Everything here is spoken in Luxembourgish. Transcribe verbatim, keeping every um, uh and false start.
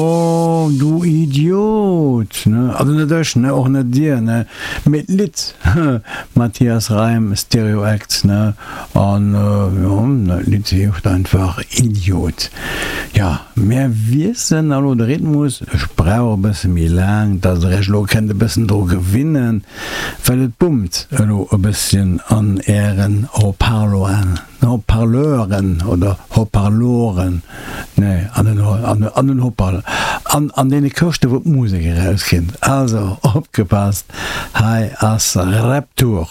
Oh, du Idiot, ne? Also net ech, ne? Och net dir, ne? Mee d'Lidd, Matthias Reim, Stereo Acts, ne? An jo, dat Lidd heescht einfach Idiot. Jo, mär wiesselen elo de Rhythmus. Ech brauch e bësse méi laang, dass der iech elo kennt e bëssen dru gewinnen, well et bummt elo e bësschen an ären Haut-parloren. Haut-parleuren oder Haut-parloren, nee, an den, an den Haut-parleuren, an, an deene Këschte wou d'Musek erauskënnt. Also opgepasst, hei ass Rap-Tour.